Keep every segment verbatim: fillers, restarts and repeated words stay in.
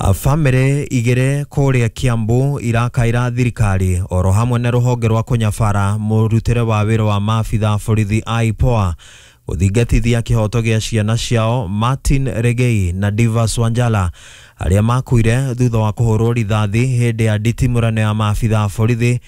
Bamĩrĩ igĩrĩ kũrĩa Kiambu irakaira thirikari oro hamwe na rũhonge rwa kũnyabara mũrutĩre wa wĩra wa maabitha borithi a I P O A gũthingatithia kĩhoto gĩa ciana ciao Martin Regei na Divas Wanjala arĩa makuire thutha wa kũhũrwo rithathi hĩndĩ ya nditimũrano ya maabitha borithi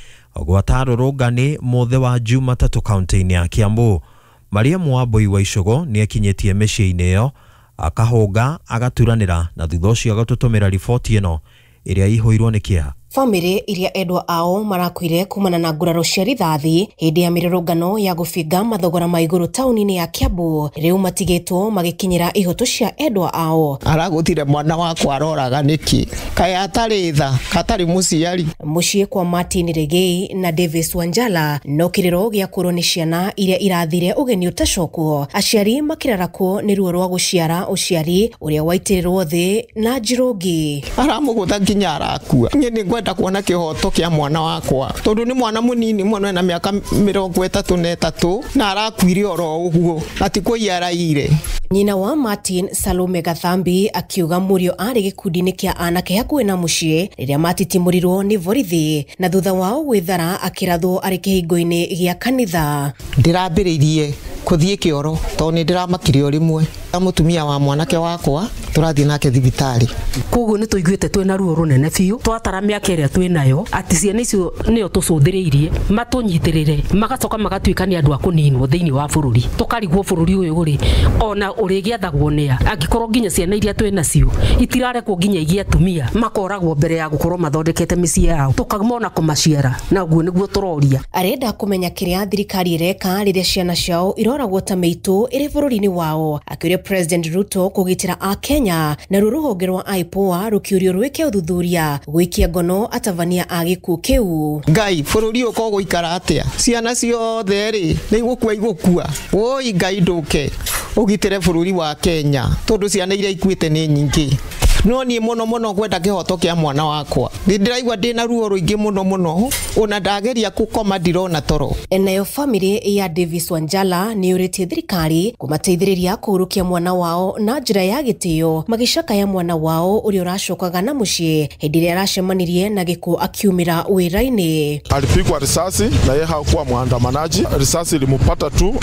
gwata rũrũngani mũthĩ wa Jumatatũ kaunti-inĩ ya Kiambu. Mariam Wambui wa Icũgũ nĩekinyĩtie mĩciĩ-inĩ ĩyo akahũnga agaturanĩra na thutha ũcio agatũtũmĩra riboti ĩno ĩrĩa ĩihũirwo nĩ kĩeha. Bamĩrĩ iria endwa ao marakuire kumana na nguraro cia rithathi hĩndĩ ya mĩrũrũngano ya gũbinga mathogora ma igũrũ taũni-inĩ ya Kiambu rĩu matigĩtwo magĩkinyĩra ihoto cia endwa ao. Aragũtire mwana wakwa aroraga nĩkĩ? Kaĩ atarĩ tha, katarĩ mũciari? Mũciĩ kwa Martin Regei na Davis Wanjala no kĩrĩro gĩa kũrwo nĩ ciana iria irathire ũgeni ũtacokwo, aciari makĩrarakwo nĩ ruo rwa gũciara ũciari ũrĩa waitĩrĩrwo thĩ na njirũngi. Aramũgũtha nginya arakua. Niĩ nĩ ngwenda kuona kĩhoto kĩa mwana wakwa tondũ nĩ mwana mũnini mũno, ena mĩaka mĩrongo ĩtatũ na ĩtatũ na arakuire oro ũguo na ti kũiya araiyire. Nyina wa Martin, Salome Gathambi, akiuga mũriũ arĩ gĩkundi-inĩ kĩa anake hakuhĩ na mũciĩ rĩrĩa matitimũrirwo nĩ borithi na thutha wao gwĩthara akĩrathwo arĩ kĩhingo-inĩ gĩa kanitha. Ndĩrambĩrĩirie kũthiĩ kĩoro tondũ nĩ ndĩramakire o rĩmwe. Mũtumia wa mwanake wakwa tũrathiĩ nake thibitarĩ. Koguo nĩ tũiguĩte twĩna ruo rũnene biũ twatara mĩaka ĩrĩa twĩ nayo atĩ ciana icio nĩo tũcũthĩrĩirie matũnyitĩrĩre magacoka magatuĩka nĩ andũ a kũninwo thĩinĩ wa bũrũri tũkarigwo bũrũri ũyũ rĩ ona ũrĩgĩathagwo nĩa angĩkorwo nginya ciana iria twĩ nacio itirarekwo nginya igie atumia makoragwo mbere ya gũkorwo mathondekete mĩciĩ yao tũkamona kũmaciara na ũguo nĩguo tũroria. Arenda kũmenya kĩrĩa thirikari ĩreka rĩrĩa ciana ciao iroragwo ta mĩitũ ĩrĩ bũrũri-inĩ wao, akĩũria President Ruto kũgitĩra Akenya naruo rũhonge rwa I P O A rũkĩũrio rwĩke ũthuthuria gwĩkia ngono atabania a gĩkuũ kĩu. Ngai, bũrũri ũyũ ko gũikara atĩa? Ciana ciothe rĩ nĩ igũkua igũkua? Woi Ngai, ndũke ũgitĩre bũrũri wa Kenya tondũ ciana iria ikuĩte nĩ nyingĩ. No niĩ mũno mũno ngwenda kĩhoto kĩa mwana wakwa. Nĩ ndĩraigua ndĩna ruo rũingĩ mũno mũno, ona ndageria kũkoma ndirona toro. Nayo bamĩrĩ ya Davis Wanjala nĩ yũrĩtie thirikari kũmateithĩrĩria kũhurũkia mwana wao na njĩra ya gĩtĩo, magĩcakaya mwana wao ũrĩa ũracokaga na mũciĩ hĩndĩ ĩrĩa aracemanirie na gĩkuũ akiumĩra wĩra-inĩ. Alipigwa risasi na yeye hakuwa mwandamanaji. Risasi ilimpata tu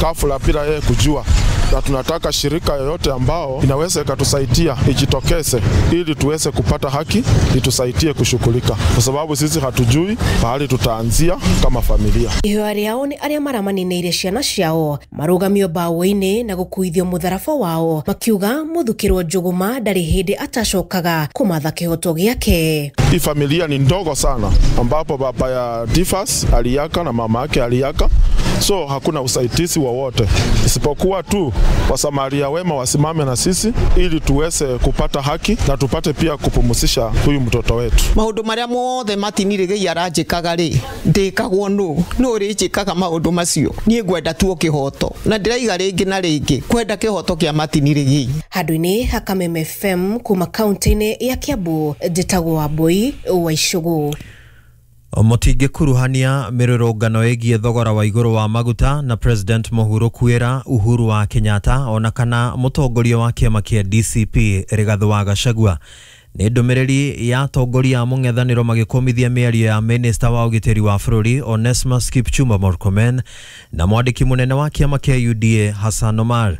ghafla bila yeye kujua, na tunataka shirika yoyote ambao inaweza ikatusaidia ijitokeze ili tuweze kupata haki, itusaidie kushughulika, kwa sababu sisi hatujui pahali tutaanzia kama familia. Ihoya rĩao nĩ arĩa maramaninĩire ciana ciao marũgamio mbaũ-inĩ na gũkuithio mũtharaba wao, makiuga mũthukĩrwo njũgũma ndarĩ hĩndĩ atacokaga kũmatha kĩhoto gĩake. Hii familia ni ndogo sana, ambapo baba ya Divas aliaga na mama yake aliaga, so hakuna usaidizi wowote isipokuwa tu wasamaria wema wasimame na sisi ili tuweze kupata haki na tupate pia kupumzisha huyu mtoto wetu. Maũndũ marĩa mothe Martin Regei aranjĩkaga rĩ ndĩkagwo nũ nũ ũrĩnjĩkaga maũndũ macio? Niĩ ngwenda tu o kĩhoto na ndĩraiga rĩngĩ na rĩngĩ kwenda kĩhoto kĩa Martin Regei. Handũ-inĩ ha Kameme F M kuma kaunti-inĩ ya Kiambu, njĩtagwo Wambui wa Icũgũ. Mũtingĩkuruhania mĩrũrũngano ĩgiĩ thogora wa igũrũ wa maguta na President mũhurũku kwĩra Uhuru wa Kenyatta ona kana mũtongoria wa kĩama kĩa D C P Rigathĩ wa Gachagua. Nĩ ndũmĩrĩri ya atongoria a mũng'ethanĩro magĩkũmithia mĩario ya minista wa ũgitĩri wa bũrũri Onesmus Kipchumba Murkomen na mwandĩki mũnene wa kĩama kĩa U D A Hassan Omar.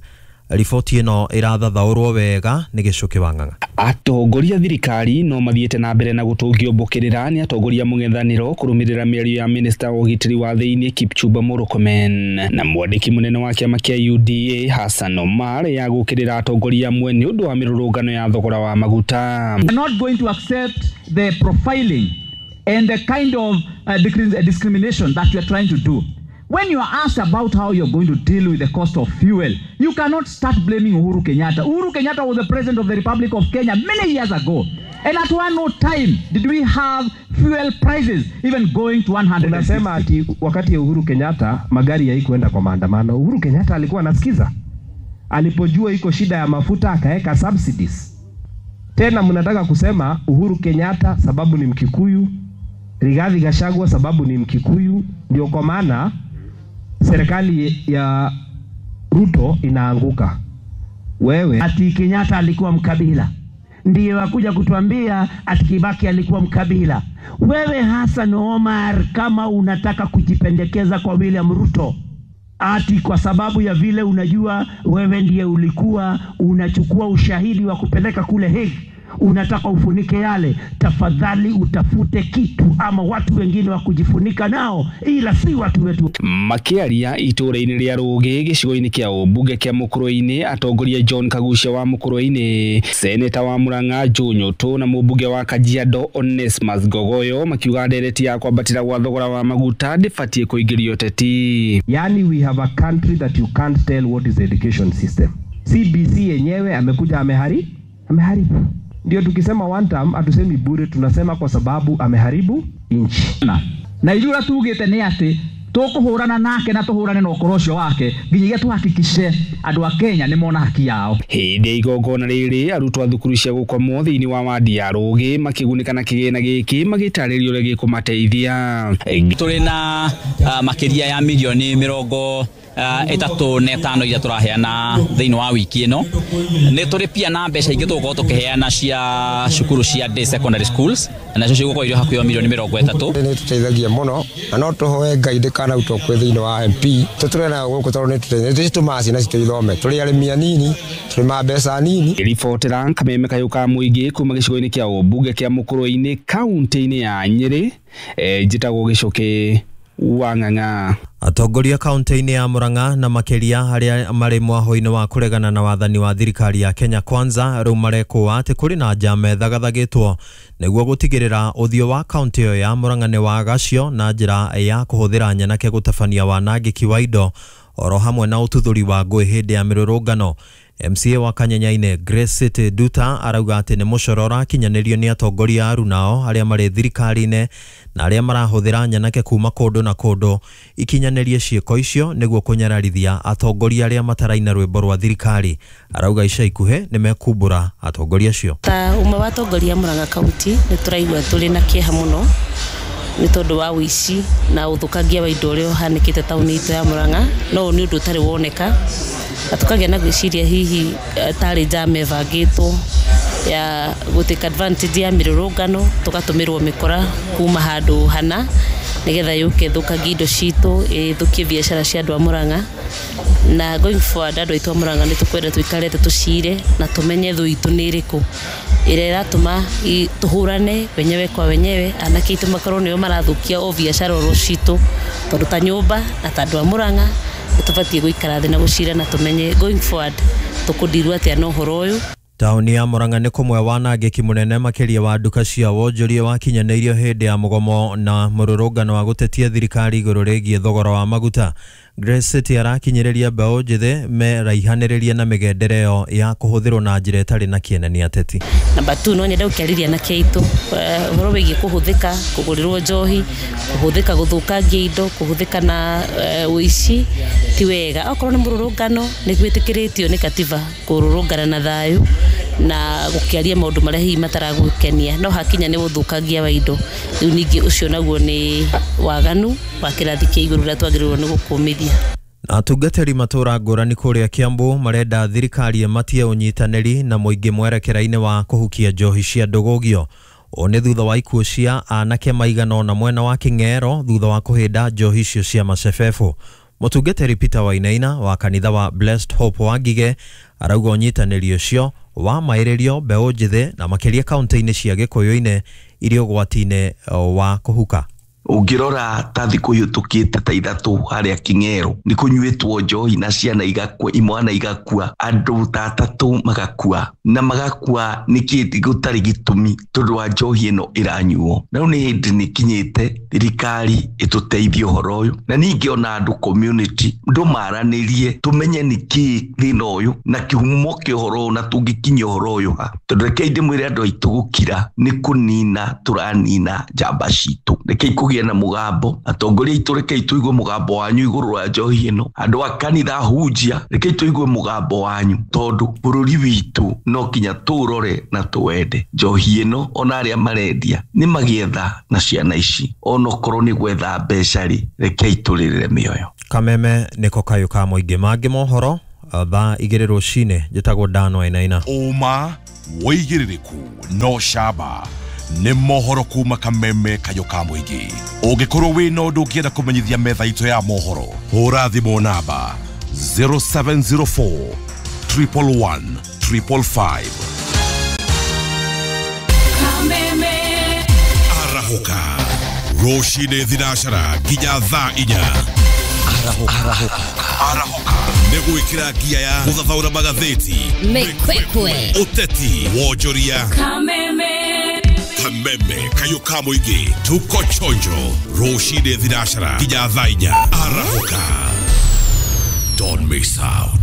Riboti ĩno ĩrathathaũrwo wega nĩ Gĩcũkĩ wa Ng'ang'a. Atongoria thirikari no mathiĩte na mbere na gũtũngio mbũkĩrĩra nĩ atongoria mũng'ethanĩro kũrũmĩrĩra mĩario ya minista wa ũgitĩri wa thĩinĩ Kipchumba Murkomen na mwandĩki mũnene wa kĩama kĩa U D A Hassan Omar ya gũkĩrĩra atongoria amwe nĩ ũndũ wa mĩrũrũngano ya thogora wa maguta. We are not going to accept the profiling and the kind of uh, discrimination that you are trying to do. When you are asked about how you're going to deal with the cost of fuel, you cannot start blaming Uhuru Kenyatta. Uhuru Kenyatta was the president of the Republic of Kenya many years ago. And at one no time did we have fuel prices even going to one hundred. Unasema ati wakati ya Uhuru Kenyatta magari haikuenda kwa maandamano. Uhuru Kenyatta alikuwa anasikiza. Alipojua iko shida ya mafuta akaweka subsidies. Tena mnataka kusema Uhuru Kenyatta sababu ni Mkikuyu, Rigathi Gachagua sababu ni Mkikuyu, ndio kwa maana serikali ya Ruto inaanguka. Wewe Ati Kenyatta alikuwa mkabila. Ndiye wakuja kutuambia ati Kibaki alikuwa mkabila. Wewe Hassan Omar, kama unataka kujipendekeza kwa William Ruto, ati kwa sababu ya vile unajua wewe ndiye ulikuwa unachukua ushahidi wa kupeleka kule Hague, unataka ufunike yale, tafadhali utafute kitu ama watu wengine wa kujifunika nao, ila si watu wetu. Makiaria itũũra-inĩ rĩa Rũgĩ gĩcigo-inĩ kĩa ũmbunge kĩa Mũkũrwe-inĩ, atongoria John Kagucia wa Mũkũrwe-inĩ, seneta wa Murang'a Joe Nyũtũ na mũmbunge wa Kajiado Onesmus Ngogoyo makiuga ndereti ya kwambatĩra gwa thogora wa maguta ndĩbatiĩ kũingĩrio ũteti. Yani we have a country that you can't tell what is the education system. C B C yenyewe amekuja amehari ameharibu. Ndio tukisema one term hatusemi bure, tunasema kwa sababu ameharibu nchi. Na ithuĩ tugĩte nĩ atĩ tũkũhũrana nake na tũhũrane na ũkoro ũcio wake nginyagia tuhakikishe andũ a Kenya nĩ mona haki yao. Hĩndĩ ya igongona rĩrĩ arutwo a thukuru cia gũkomwo thĩinĩ wa wadi ya Rũgĩ makĩgunĩka na kĩgĩna gĩkĩ magĩtarĩrio ũrĩa gĩkũmateithia. Tũrĩ na uh, makĩria ya milioni mĩrongo ĩtatũ na ĩtano iria tũraheana thĩinĩ wa wiki ĩno. Nĩ tũrĩ pia na mbeca ingĩ tũgũkorwo tũkĩheana cia cukuru cia day secondary schools, nacio cigũkorwo irĩ hakuhĩ milioni mĩrongo ĩtatũ. Nĩ tũteithagia mũno na no tũhoe Ngai ndĩkanautwo kwĩ thĩinĩ wa M P tũtũre nayo gũkũ tondũ nĩ tũtũmaga ciana citũ ithome. Tũrĩ arĩmi anini, tũrĩmaga mbeca nini. Ribotera Kameme Kayũ ka Mũingĩ kuma gĩcigo-inĩ kĩa ũmbunge kĩa Mũkũrwe-inĩ kaunti-inĩ ya Nyĩrĩ, njĩtagwo Gĩcũkĩ wa Ng'ang'a. Atongoria kaunti-inĩ ya Murang'a na makĩria arĩa marĩ mwaho-inĩ wa kũregana na wathani wa thirikari ya Kenya Kwanza rĩu marekũa atĩ kũrĩ na njama ĩthagathagĩtwo nĩguo gũtigĩrĩra ũthiũ wa kaunti ĩyo ya Murang'a nĩ wagacio na njĩra ya kũhũthĩra nyanake gũtabania wanangĩki wa indo oro hamwe na ũtuthũri wa ngũĩ hĩndĩ ya mĩrũrũngano. M C A wa Kanyenyaine Grace City Duta arauga atĩ nĩ mũcoro ũrakinyanĩrio nĩ atongoria arunao arĩa marĩ thirikari-inĩ na arĩa marahũthĩra nyanake kuma kũndũ na kũndũ ikinyanĩrie ciĩko icio nĩguo kũnyararithia atongoria arĩa mataraina rwĩmbo rwa thirikari. Arauga ica ikuhĩ nĩ mekumbũra atongoria acio. Ta ũmwe wa atongoria Murang'a kaunti nĩ tũraigua tũrĩ na kĩeha mũno nĩ tondũ wa ũici na ũthũkangia wa indo ũrĩa ũhanĩkĩte taũni itũ ya Murang'a, no ũyũ nĩ ũndũ ũtarĩ woneka na tũkagĩa na gwĩciria hihi tarĩ njama ĩbangĩtwo ya gũtake advantage ya mĩrũrũngano tũgatũmĩrwo mĩkora kuma handũ hana nĩgetha yũke ĩthũkangie indo citũ, ĩthũkie biacara cia andũ a Murang'a. Na going forward andũ aitũ a Murang'a nĩ tũkwenda tũikare thĩ tũcire na tũmenye thũ itũ nĩ ĩrĩkũ ĩrĩa ĩratũma tũhũrane wenyewe kwa wenyewe, anake aitũ makorwo nĩo marathũkia o biacara oro citũ, tondũ ta nyũmba na ta andũ a Murang'a nĩ tũbatiĩ gũikara thĩ na gũcira na tũmenye going forward tũkũndirwo atĩa na ũhoro ũyũ. Taũni ya Murang'a nĩ kũmwe wanangĩki mũnene makĩria wa nduka cia wonjoria wakinyanĩirio hĩndĩ ya mũgomo na mũrũrũngano wa gũtetia thirikari igũrũ rĩgiĩ thogora wa maguta. Grace City arakinyĩrĩria mbeũ njĩthĩ meraihanĩrĩrie na mĩgendere ĩyo ya kũhũthĩrwo na njĩra ĩtarĩ na kĩene nĩ ateti. Namba two, no nyende gũkĩarĩria anake aitũ ũhoro wĩgiĩ kũhũthĩka kũgũrĩrwo njohi, kũhũthĩka gũthũkangia indo, kũhũthĩka na ũici ti wega. Okorwo nĩ mũrũrũngano nĩ gwĩtĩkĩrĩtio nĩ katiba kũrũrũngana na thayũ na gũkĩaria maũndũ marĩa hihi mataragũkenia, no hakinya nĩ ũthũkangia wa indo rĩu ningĩ ũcio naguo nĩ waganu wa kĩrathi kĩa igũrũ ũrĩa twagĩrĩirwo nĩ gũkũmithia. Na atungatĩri matũra ngũrani kũrĩa Kiambu marenda thirikari ĩmatie ũnyitanĩri na mũingĩ mwerekera-inĩ wa kũhukia njohi cia ndũgũgio. Ũũ nĩ thutha wa ikuũ cia anake maigana ũna mwena wa Kĩng'ero thutha wa kũhĩnda njohi icio cia macebebũ. Mũtungatĩri Peter Wainaina wa kanitha wa Blessed Hope wa Ngige arauga ũnyitanĩri ũcio wa maĩrĩrio mbeũ njĩthĩ na makĩria kaunti-inĩ cia Gĩkũyũ-inĩ iria ũgwati-inĩ wa kũhuka. Ũngĩrora ta thikũ ihĩtũkĩte ta ithatũ harĩa Kĩng'ero nĩ kũnyuĩtwo njohi na ciana igakua, imwana igakua, andũ ta atatũ magakua, na magakua nĩkĩ gũtarĩ gĩtũmi tondũ wa njohi ĩno ĩranyuo. Na rĩu nĩ hĩndĩ nĩ kinyĩte thirikari ĩtũteithie ũhoro ũyũ, na ningĩ ona andũ community ndũmaranĩrie tũmenye nĩkĩ thĩna ũyũ na kĩhumo kĩa ũhoro ũyũ na tũngĩkinyia ũhoro ũyũ ha, tondũ rekei ndĩmwĩre andũ aitũ gũkira nĩ kũnina tũranina njamba citũ. Rekei kũgĩa na mũgambo, atongoria aitũ rekei tũigue mũgambo wanyu igũrũ rwa njohi ĩno, andũ a kanitha hunjia rekei tũigue mũgambo wanyu, tondũ bũrũri witũ no kinya tũũrore na tũwende. Njohi ĩno ona arĩa marendia nĩ magĩetha na ciana ici, onokorwo nĩ gwetha mbeca rĩ, rekei tũrĩrĩre mĩoyo. Kameme nĩko kayũ ka mũingĩ. Mangĩ mohoro thaa igĩrĩ rũcinĩ. Njĩtagwo Dan Wainaina. Ũma Wĩigĩrĩrĩku no camba nĩ mohoro kuma Kameme kayũ ka mũingĩ. Ũngĩkorwo wĩna ũndũ ũngĩenda kũmenyithia metha itũ ya mohoro, hũra thimũ namba zero seven zero four triple one triple five. Kameme. Arahũka rũcinĩ thinacara nginya thaa inya. Arahũka. Arahũka nĩ gwĩkĩra ngia ya gũthathaũra magathĩti, Mĩkwekwe, ũteti, wonjoria. Kameme. Kameme kayũ ka mũingĩ, tuko chonjo rũcinĩ thinacara nginya thaa inya. Arahũka, don't miss out.